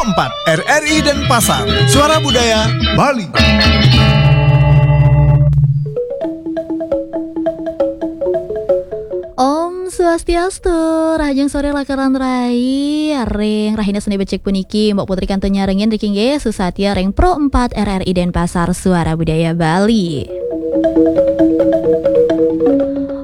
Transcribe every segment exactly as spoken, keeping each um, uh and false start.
empat R R I Denpasar, Suara Budaya Bali. Om Swastiastu, rahajeng sore Lakaran Rai, ring rahina Senin becik puniki, Mbok Putri kantun nyarengin riki nggih, susatia ring Pro empat R R I Denpasar, Suara Budaya Bali.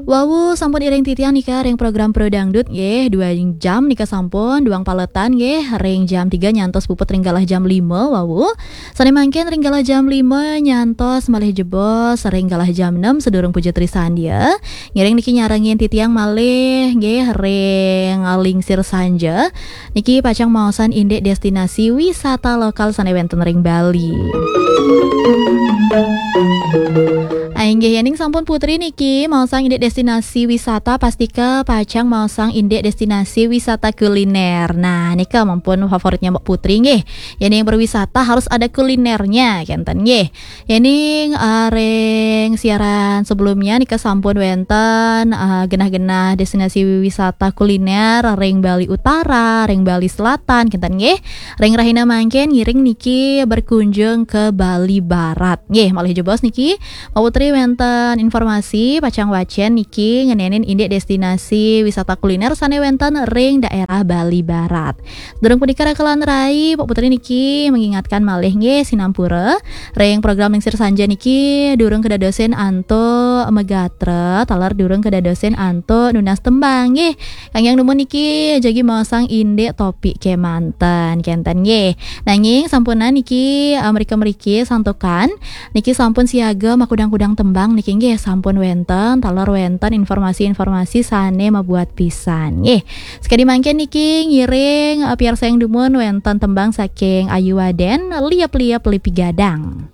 Wau sampun iring titiang nika ring program Pro Dangdut nggih, dua jam nika sampun, duang paletan nggih, ring jam tiga nyantos puput ring galah jam lima wau. Sane mangkin ring galah jam lima nyantos malih jebos ring galah jam enam sedurung Puja Trisandya. Ngiring niki nyarengin titiang malih nggih ring lingsir sanja. Niki pacang maosan indik destinasi wisata lokal sane wenten ring Bali. Ah, inggih, yening sampun Putri niki maosang indik destinasi wisata, pastika pacang maosang indik destinasi wisata kuliner. Nah, nika mampun favoritnya Mbok Putri nggih. Yening berwisata harus ada kulinernya, kenten nggih. Yening, eh, ring siaran sebelumnya nika sampun wenten, eh, genah-genah destinasi wisata kuliner ring Bali Utara, ring Bali Selatan, kenten nggih. Ring rahina mangkin ngiring niki berkunjung ke Bali Barat. Nggih, malih jebos niki, Mbok Putri wenten informasi pacang wacen niki ngenenin indik destinasi wisata kuliner sane wenten ring daerah Bali Barat. Durung punika Rakalan Rai, Mbok Putri niki mengingatkan malih nggih sinampura ring program lingsir sanja niki durung kedadosin antuk megatra, taler durung kedadosin antuk nunas tembang nggih. Kangge nunas niki jagi maosang indik topik kemanten, kenten nggih. Nanging sampunang niki, eh, mrika-mriki santukan niki sampun siaga makudang-kudang tembang niki nggih, sampun wenten, taler wenten informasi-informasi sane mabuat pisan nggih. Sakadi mangkin niki ngiring, eh, piarsayang dumun wenten tembang saking Ayu Waden, Liep-liep Lipi Gadang.